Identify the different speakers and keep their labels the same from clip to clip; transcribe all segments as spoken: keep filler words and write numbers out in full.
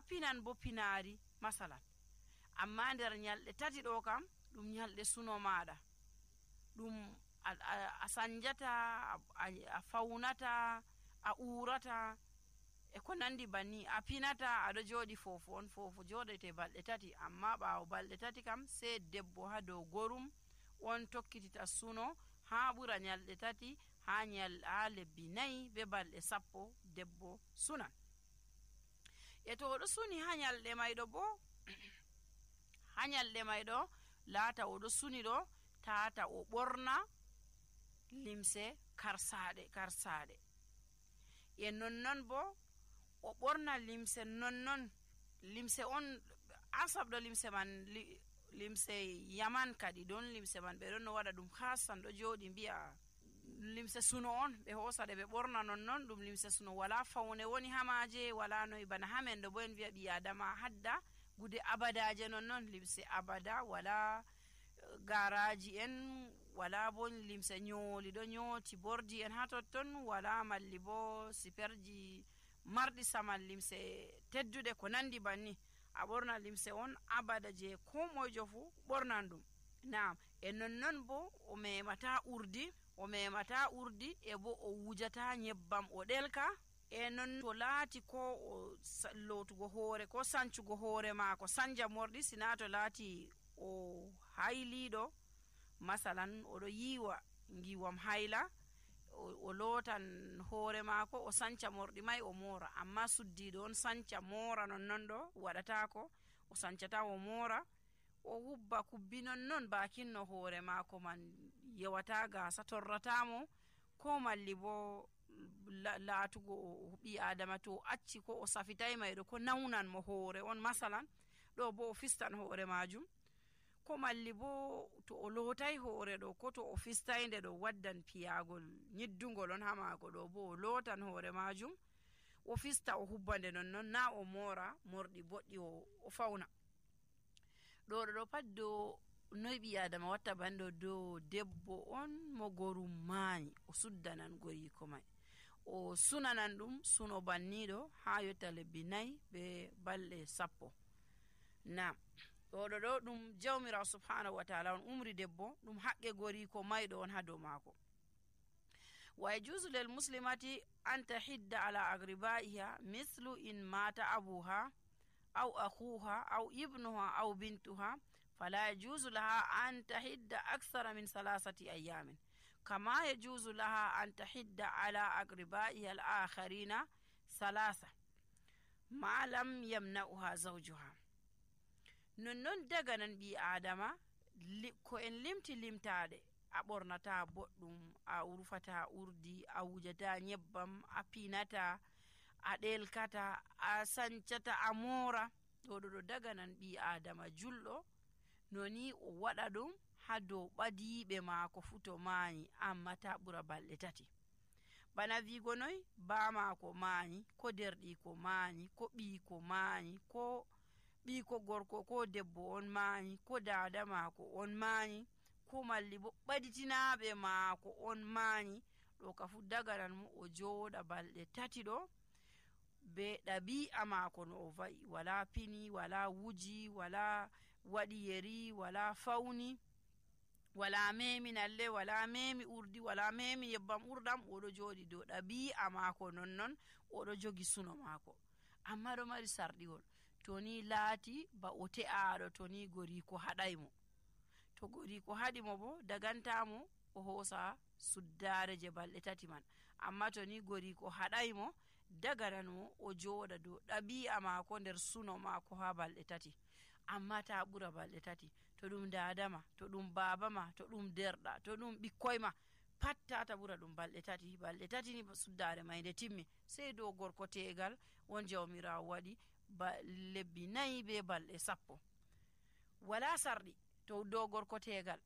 Speaker 1: pinan bo pinari masalan. Amma nder nyalɗe tati ɗo kam ɗum nyalɗe suno maɗa, ɗum a, a, a sanjata, a, a faunata, a urata e ko nandi banni. A pinata aɗo joɗi foofu, on foofu joɗete balɗe tati, amma ɓawo balɗe tati kam sai debbo ha dow gorum on tokkitita suno ha ɓura nyalɗe tati, ha nyal ha lebbi nayi be balɗe sappo debbo sunan. E to oɗo suni ha nyalɗe mayɗo bo ha nyalɗe mayɗo laata oɗo suni ɗo tata o ɓorna limse karsaɗe karsaɗe, e nonnon bo o ɓorna limse nonnon limse on asabɗo limse man li, limse yaman kadi don limse man ɓe ɗon no waɗa ɗum hasan ɗo joɗi mbi'a limse suno on ɓe hosaɗe ɓe ɓorna nonnon, ɗum limse suno wala faune woni hamaje, wala noyi bana hamen ɗo bo en wi'a ɓi adama hadda gude abadaje nonnon, limse abada, wala garaji en, wala bo limse nyoli ɗo nyoti bordi en ha totton, wala malli bo siperji marɗi saman, limse tedduɗe ko nandi banni. A ɓorna limse on abada je ko moyjo fu ɓornan ɗum. Naam, e nonnon bo o memata urdi, o memata urdi e bo o wujata nyebbam o ɗelka, e non to laati ko o lotugo hoore ko sancugo hoore maako sanja morɗi, sina to laati o hayliɗo masalan oɗo yiwa ngiwam hayla, o, o lotan hoore maako o sanca morɗi mai o mora, amma suddiɗo on sanca mora nonnon ɗo waɗatako, o sancata o mora, o hubba kubbi nonnon bakinno hoore maako man yewata gasa torratamo, ko malli bo la, laatugo ɓi adama to acci ko o safitay mayɗo ko nawnan mo hoore on masalan, ɗo bo o fistan hoore majum, ko malli bo to o lotay hoore ɗo ko to o fistayde ɗo waddan piyagol nyiddugol on ha maako, ɗo bo o lotan hoore majum o fista o hubbande nonnon, na o mora morɗi boɗɗi o, o fauna. ɗo ɗo pat do noy ɓi adama watta banɗo do debbo on mo gorum maayi o suddanan goriko mai, o sunanan ɗum suno banniɗo ha yotta lebbi nayi be balɗe sappo. Na ɗo ɗo ɗo ɗum jawmirawo subhanahu wa ta'ala on umri debbo ɗum haqqe goriko mayɗo on ha dow maako. Wa yajuzu lil muslimati an tahidda ala agribaiha mislu in mata abuha aw akhuha aw ibnuha aw bintuha fala yajuzu laha an tahidda akthara min salasati ayamin kama yajuzu laha an tahidda ala agribaiha al-akharina salasa ma lam yamna'uha zawjuha. Nonnon daga nan ɓi adama ko en limti limtade, a ɓornata boɗɗum, a urfata urdi, a wujata nyebbam, a pinata, a ɗelkata, a sancata, a mora, ɗo ɗo daga nan ɓi adama julɗo noni o waɗa ɗum ha dow ɓadiɓe maako fu to maayi, amma ta ɓura balɗe tati. Bana wigo noy ba maako maayi, ko derɗi ko maayi, ko ɓi ko maayi, ko ɓi ko gorko ko debbo on maayi, ko dada maako on maayi, ko malli bo ɓaditinaɓe maako on maayi, ɗo ka fu daganan mo o jooɗa balɗe tati ɗo be ɗabi'a maako no o va'i, wala pini, wala wuji, wala waɗi yeri, wala fauni, wala memi nalle, wala memi urdi, wala memi yebbam urɗam, oɗo jooɗi dow ɗabi'a maako nonnon oɗo jogi suno maako. Amma ɗo mari sarɗiwol, to ni laati ba o te'aɗo to ni goriko haɗaymo, to goriko haɗimo bo dagantamo o hoosa suddare je balɗe tati man, amma to ni goriko haɗaymo dagananmo o jooɗa dow ɗabi'a maako nder suno maako ha balɗe tati, amma ta ɓura balɗe tati. To ɗum dadama, to ɗum babama, to ɗum derɗa, to ɗum ɓikkoyma, pat tata ɓura ɗum balɗe tati. Balɗe tati ni suddare may nde timmi, sey dow gorko tegal won jawmirawo waɗi ba lebbi nayi be balɗe sappo, wala sarɗi to dow gorko tegal,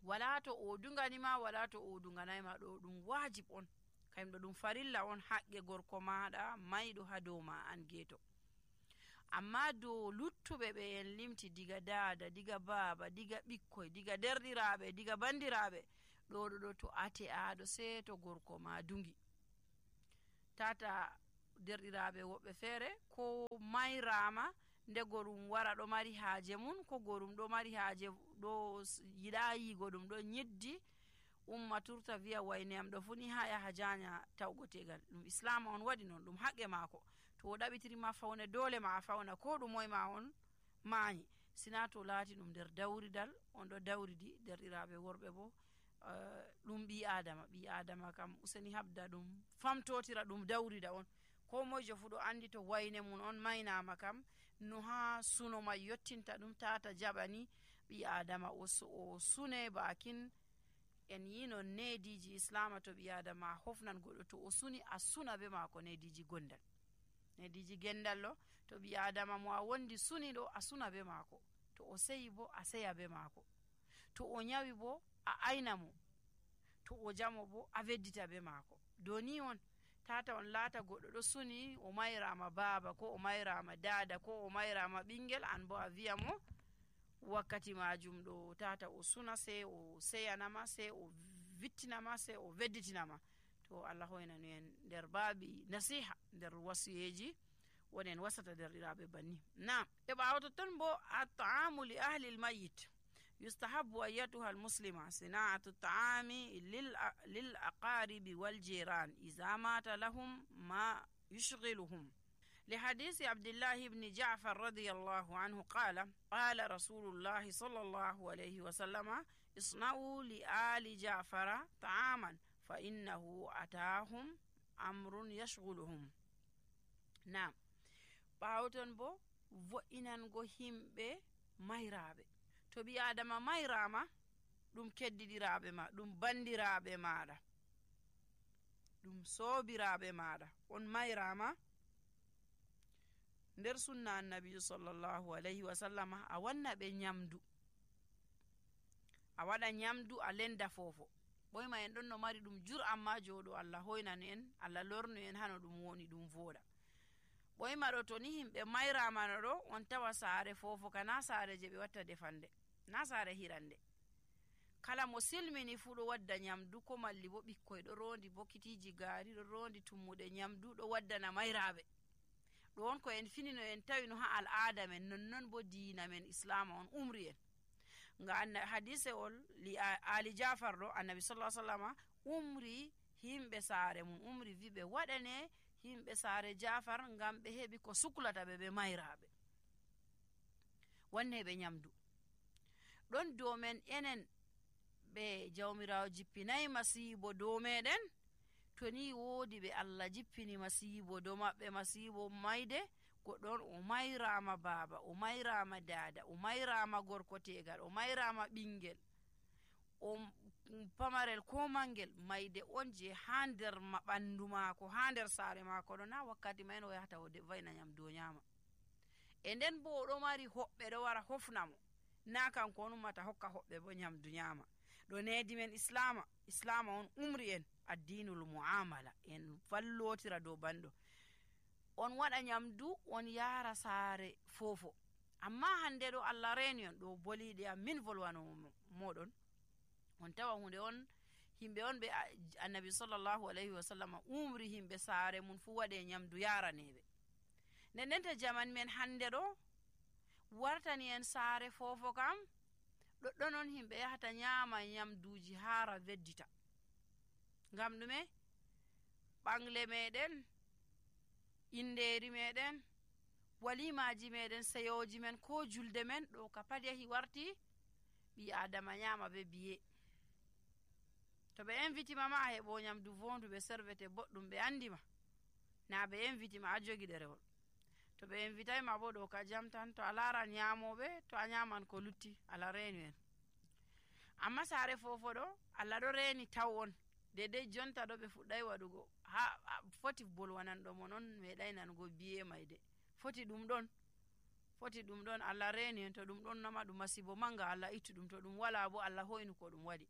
Speaker 1: wala to o dunganima, wala to o dunganayma, ɗo ɗum wajib on, kayumɗo ɗum farilla on haqqe gorko maɗa mayɗo ha dow ma an geeto. Amma dow luttuɓe ɓe en limti diga dada, diga baba, diga ɓikkoy, diga derɗiraɓe, diga bandiraɓe, ɗo ɗo ɗo to ate aɗo sei to gorko ma dungi, tata derɗiraɓe woɓɓe feere ko may mayrama nde gorum wara ɗo mari haaje mum, ko gorum ɗo mari haaje ɗo yiɗa yigo ɗum ɗo nyiddi umma turta wiya wayne am ɗo funi ha yaha janya tawgo tegal. ɗum islama on waɗi non, ɗum haqqe maako. to o ɗaɓitirima fawne dole ma a fawna ko ɗum moye ma on mayi, sina to laati ɗum nder dawridal on ɗo dawridi. derɗiraɓe worɓe bo ɗum ɓi adama ɓi adama kam useni habda ɗum famtotira ɗum dawrida on. ko moyjo fu ɗo andi to wayne mum on maynama kam no ha suno mai yottinta ɗum tata jaɓani ɓi adama o, o sune bakin en yi non nediji islama. to ɓi adama hofnan goɗɗo to o suni a suna be mako nediji gondal, nediji gendal ɗo to ɓi adama mo a wondi suni ɗo a suna be mako, to o seyi bo a seya be mako, to o nyawi bo a ayna mo, to o jamo bo a veddita be mako. doni on tata on laata goɗɗo ɗo suni o mayrama baaba ko o mayrama dada ko o mayrama ɓingel, an bo a wiya mo wakkati majum ɗo tata o suna sei o seyanama sei o vittinama sei o vedditinama. to Allah hoynanu en nder baabi nasiha nder wasiyeji wonen wasata derɗiraɓe banni. nam e ɓawo totton bo at-ta'amu li ahli al-mayyit yustahabbu ayyatuha al-muslima sina'atu at-ta'ami lil lil aqaribi wal jiran idza mata lahum ma yushghiluhum. لحديث عبد الله بن جعفر رضي الله عنه قال قال رسول الله صلى الله عليه وسلم اصنعوا لآل جعفر طعاما فإنه أتاهم أمر يشغلهم. نعم ɓawton bo vo'inango himɓe mayraɓe. to ɓi adama mayrama ɗum keddiɗiraɓe ma, ɗum bandiraɓe maɗa, ɗum sobiraɓe maɗa on mayrama, nder sunna annabijo sallallahu alayhi wa sallama a wanna ɓe nyamdu, a waɗa nyamdu a lenda fofo. ɓoyma en ɗon no mari ɗum jur amma joɗo Allah hoynanu en, Allah lornu en hano ɗum woni ɗum voɗa. ɓoyma ɗo to ni himɓe mayramano ɗo on tawa saare fofo ka na saare je ɓe watta defande, na saare hirande. kala mo silmini fu ɗo wadda nyamdu, ko malli bo ɓikkoy ɗo rondi bokitiji gaari ɗo rondi tummuɗe nyamdu ɗo waddana mayraɓe. ɗo on ko en finino en tawino ha al'ada men, nonnon bo diina men islama on umri en. nga anna hadise ol li ali jafar ɗo annabi sallallahu alaihi wasallam umri himɓe saare mum, umri wiɓe waɗane himɓe saare jafar ngam ɓe heɓi ko suklata ɓe ɓe mayraɓe, wanne ɓe nyamdu. ɗon dow men enen ɓe jawmirawo jippinayi masibo dow meɗen, to ni woodi ɓe Allah jippini masibo dow maɓɓe, masibo mayde goɗɗon o mayrama baaba, o mayrama dada, o mayrama gorko tegal, o mayrama ɓingel, o pamarel ko mangel, mayde on je ha nder ɓandu maako, ha nder saare maako ɗo, na wakkati mayen o yahata o vayna nyamdu o nyama. e nden bo oɗo mari hoɓɓe ɗo wara hofnamo, na kanko on ummata hokka hoɓɓe bo nyamdu nyama. ɗo nedi men islama, islama on umri en addinul muamala, en vallotira dow banɗo. on waɗa nyamdu on yara saare fofo, amma hande ɗo Allah reni on ɗo boliɗe am min volwano moɗon, on tawa hunde on himɓe on ɓe annabi sallallahu alayhi wa sallam umri himɓe saare mum fu waɗe nyamdu yaraneɓe. nden nden to jaman men hande ɗo wartani en saare fofo kam ɗoɗɗon on himɓe yahata nyama nyamduji hara veddita. ngam ɗume? ɓangle meɗen, inderi meɗen, walimaji meɗen, seyoji men ko julde men ɗo ka pat yahi warti ɓi adama nyama be biye. to ɓe invitima ma a heɓo nyamdu vondu ɓe servete boɗɗum ɓe andima, na ɓe invitima a jogi ɗerewol. to ɓe invitay ma bo ɗo ka jam tan, to a laran nyamoɓe, to a nyaman ko lutti, Allah reni en. amma saare fofo ɗo Allah ɗo reni taw on, dedei jonta ɗo ɓe fuɗɗai waɗugo ha foti bolwananɗo mo non meɗai nanugo biye mayde, foti ɗum ɗon, foti ɗum ɗon. Allah reni en, to ɗum ɗon nama ɗum masibo manga, Allah ittu ɗum, to ɗum wala bo Allah hoynu ko ɗum waɗi.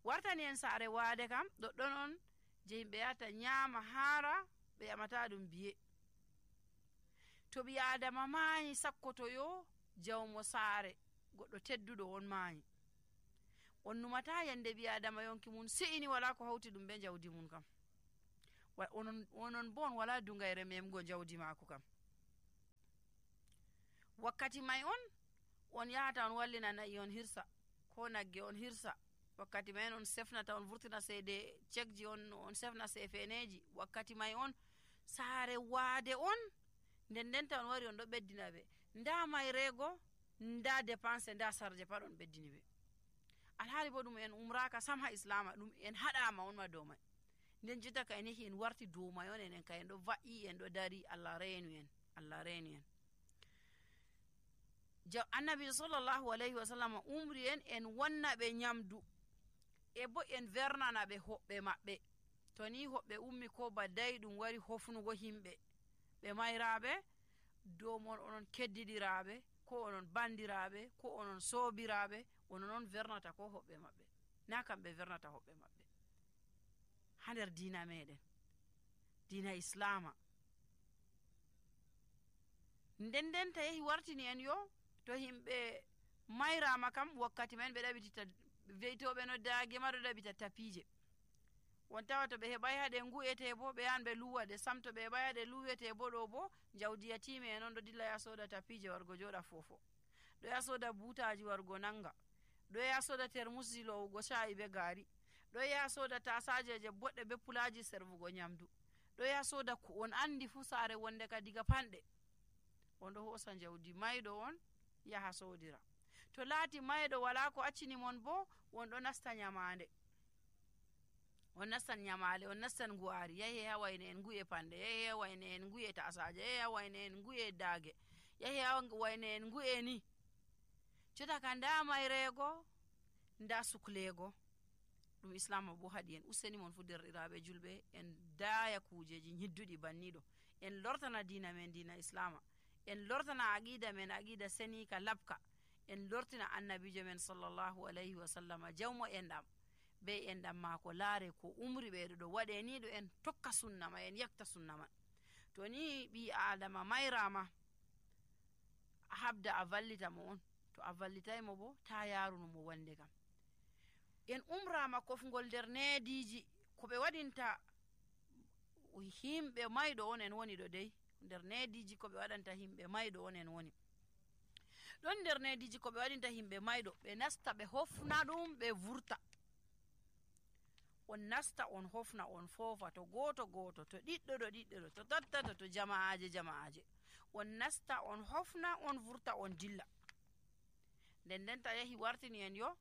Speaker 1: wartani en saare waade kam ɗoɗɗon on je yimɓe yata nyama hara, ɓe yamata ɗum biye. to ɓi adama mayi sakkotoyo jawmo saare goɗɗo tedduɗo on mayi, on numata yande ɓi adama yonki mum se'ini wala ko hawti ɗum be jawdi mum kam, onon onon bo on wala dungayre memgo jawdi mako kam. wakkati may on on yahata on wallina nayi on hirsa ko nagge on hirsa. Wakkati may on sefnata on vurtina seede cekji on on sefna sefeneji. Wakkati may on saare waade on nden ndenta on wari on ɗo ɓeddina ɓe nda mayrego nda dépense nda sarje pat on ɓeddini ɓe. Alhaali bo ɗum en umraka sam ha islama, ɗum en haɗama on ma dow may. Nden jotta ka en yahi en warti dow may on enen ka en ɗo va'i en ɗo dari. Allah reenu en, Allah reenu en. Annabi sallallahu alayhi wa sallam umri en en wonna ɓe nyamdu e bo en vernana ɓe hoɓɓe maɓɓe. To ni hoɓɓe ummi ko badday ɗum wari hofnugo himɓe ɓe mayraɓe dow mon onon keddiɗiraɓe ko onon bandiraɓe ko onon soobiraɓe onon on vernata ko hoɓɓe maɓɓe, na kamɓe vernata hoɓɓe maɓɓe. Ha nder diina meɗen, diina islama. Nden nden ta yahi wartini en yo to himɓe mayrama kam wakkati men ɓe ɗaɓitita weytoɓe no daage ma ɗo ɗaɓita tapije. Won tawa to ɓe heɓay haɗe ngu'ete bo ɓe yahan ɓe luwaɗe sam. To ɓe heɓay haɗe luwete bo ɗo bo jawdi yatime en on ɗo dilla ya soda tapije wargo joɗa fofo, ɗo ya soda butaji wargo nanga, ɗo ya soda termusji lowugo sha'i be gaari, ɗo ya soda tasajeje boɗɗe be pulaji servugo nyamdu, ɗo ya soda ko on andi fu saare wonde ka diga panɗe. On ɗo hosa jawdi mayɗo on yaha sodira. To laati mayɗo wala ko accini mon bo on ɗo nasta nyamande, on nastan nyamale, on nastan nguwari, yahi ha wayne en ngu'e panɗe, yahi ha wayne en ngu'e tasaje, yahi ha wayne en ngu'e daage, yahi ha wayne en ngu'e ni. Jotta ka nda mayrego nda suklego ɗum islama bo haɗi en. Useni mon fu derɗiraɓe julɓe en daya kujeji nyidduɗi banniɗo. En lortana diina men diina islama, en lortana aqida men aqida senika labka, en lortina annabijo men sallallahu alayhi wa sallama jawmo enɗam be enɗam maako laare ko umri ɓeɗo ɗo waɗe ni ɗo en tokka sunna ma, en yakta sunna man. To ni ɓi adama mayrama a habda a vallita mo on, to a vallitaymo bo ta yarunumo wande kam. En umrama kofgol nder nediji ko ɓe waɗinta himɓe mayɗo on en woni ɗo dey. Nder nediji ko ɓe waɗanta himɓe mayɗo on en woni ɗon. Nder nediji ko ɓe waɗinta himɓe mayɗo, ɓe nasta ɓe hofna ɗum ɓe vurta. On nasta on hofna on foofa, to goto goto, to ɗiɗɗo ɗo ɗiɗɗo ɗo, to tattato, to jama'aje jama'aje. On nasta on hofna on vurta on dilla. Nden nden ta yahi wartini en yo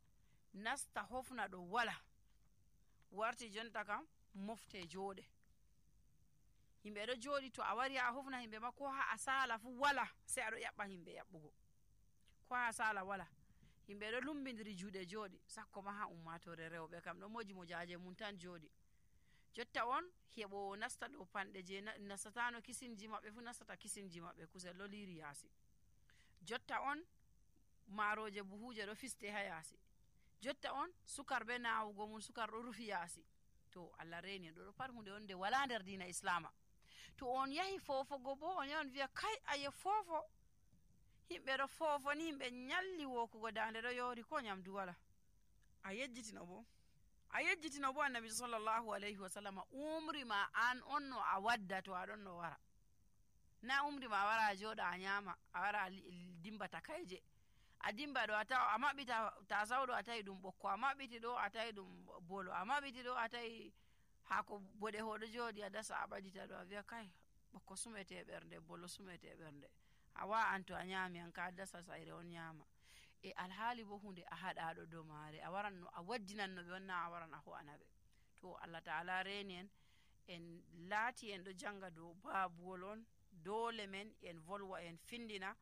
Speaker 1: nasta hofna ɗo wala, warti jonta kam mofte jooɗe. Himɓe ɗo jooɗi, to a wari a hofna himɓe ma ko ha a sala fu wala, sai aɗo yaɓɓa himɓe yaɓɓugo. Ko ha a sala wala, himɓe ɗo lumbidiri juuɗe jooɗi, sakko ma ha ummatore rewɓe kam ɗo moji mojaje mum tan jooɗi. Jotta on heɓo nasta ɗo panɗe je nastatano kisinji maɓɓe fu nastata kisinji maɓɓe, kusel ɗo liri yaasi. Jotta on maaroje buhuje ɗo fiste ha yaasi. Jotta on sukar be nawugo mum sukar ɗo rufi yaasi. To Allah reni ɗo ɗo pat hunde on nde wala nder diina islama. To on yahi fofogo bo on yahan wiya kai aye fofo, himɓe ɗo fofo ni himɓe nyalli wokugo dande ɗo yori ko nyamdu wala. A yejjitino bo a yejjitino bo annabi sallallahu alayhi wa sallam umri ma an on no a wadda to aɗon no wara, na umri ma a wara a joɗa a nyama, a wara a dimba takayje, a dimba ɗo a tawa a maɓɓita tasawɗo a tawi ɗum ɓokko, a maɓɓiti ɗo a tawi ɗum bolo, a maɓɓiti ɗo a tawi hako boɗe hoɗo jooɗi a dasa a ɓadita ɗo a wiya kai ɓokko sumete ɓernde, bolo sumete ɓernde, a wa an to a nyami an ka dasa sayre on nyama. E alhaali bo hunde a haɗaɗo dow maare, a waran no a waddinan no ɓe wonna a waran a ho'ana ɓe. To Allah ta'ala reni en en laati en ɗo janga dow babuwol on, dole men en volwa en findina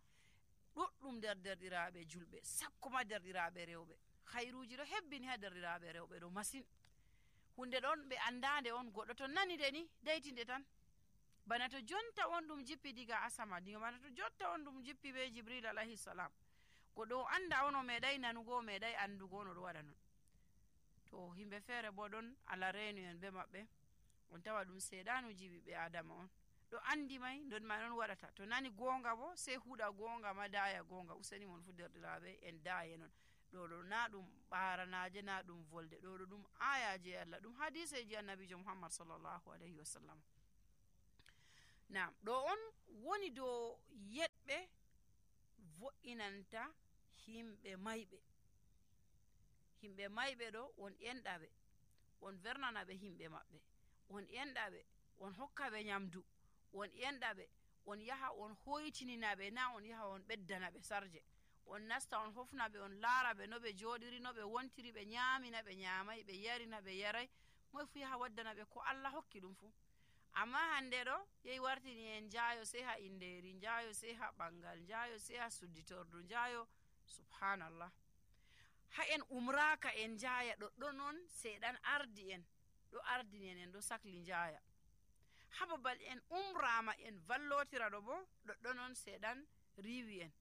Speaker 1: ɗuɗɗum nder derɗiraɓe julɓe, sakkoma derɗiraɓe rewɓe. Khairuji ɗo hebbini ha derɗiraɓe rewɓe ɗo masin. Hunde ɗon ɓe andande on, goɗɗo to nani de ni daytinde tan. Bana to jonta on ɗum jippi diga asama, diga bana to jonta on ɗum jippi be Jibril alayhi salam, goɗɗo o anda on o meɗai nanugo, o meɗai andugo on oɗo waɗa non. To himɓe feere bo ɗon Allah reenu en be maɓɓe, on tawa ɗum seeɗanuji ɓiɓɓe adama on ɗo andi may don ma non waɗata. To nani gonga bo sei huɗa gonga ma daya gonga. Useni mon fu derɗiraɓe en daye non. ɗo ɗo na ɗum ɓaranaje, na ɗum volde, ɗo ɗo ɗum ayaje Allah, ɗum hadiseji annabijo Muhammad sallallahu alayhi wa sallam. Nam ɗo on woni dow yeɗɓe nanta himɓe mayɓe. Himɓe mayɓe ɗo won enɗaɓe, won vernanaɓe himɓe maɓɓe, won enɗaɓe won hokkaɓe nyamdu, won enɗaɓe on yaha on hoytininaɓe, na on yaha on ɓeddanaɓe sarje, on nasta on hofnaɓe, on laaraɓe no ɓe jooɗiri, no ɓe wontiri, ɓe nyaamina ɓe nyaamay, ɓe yarina ɓe yaray, moy fu yaha waddana ɓe ko Allah hokki ɗum fu. Amma hande ɗo yehi wartini en njaayo sey ha inderi, njaayo sey ha ɓangal, njaayo sey ha sudditordu, njaayo subhanallah. Ha en umraka en njaaya ɗoɗɗon on seeɗan ardi en ɗo ardini en, en ɗo sakli njaaya. Ha babal en umrama en vallotira ɗo bo ɗoɗɗon on seeɗan riiwi en.